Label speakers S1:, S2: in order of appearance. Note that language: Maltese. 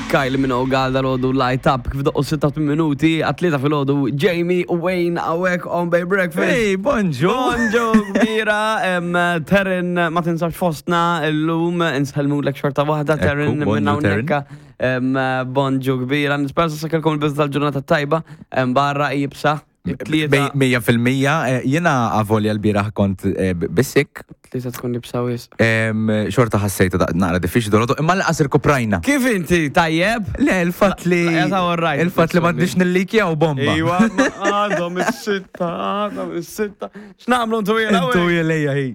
S1: Kylie Minogue għal dal-ħodu light up kif doqqu 86 minuti għat-tlieta fil-ħodu Jamie u Wayne għawek on Bay Breakfast.
S2: Hey, bonġu!
S1: Bonġu kbira, em, Terin ma tinsabx fostna l-lum, insellmulek xorta waħda Terin
S2: Ekku, bonġu,
S1: minn hawnhekk. Em, Bonġu kbira, nispera sa kelkom il-bidu tal-ġurnata tajba, em, barra jibsa. It-tlieta
S2: 100% eh, jiena avolja l-bieraħ kont eh, b- bisik,
S1: tlieta tkun jibsa wisq.
S2: em, xorta ħassejta da- naqra diffiċli dolodu, imma laqas irkuprajna.
S1: Kif inti tajjeb?
S2: Le, il-fatt li.
S1: La- la- all right,
S2: Il-fatt li m'għandix nillikjaw bomba.
S1: Iwa, ma għadhom is-sitta, għadhom is-sitta. X'nagħmlu ntu jela?
S2: Intu jelejja hi.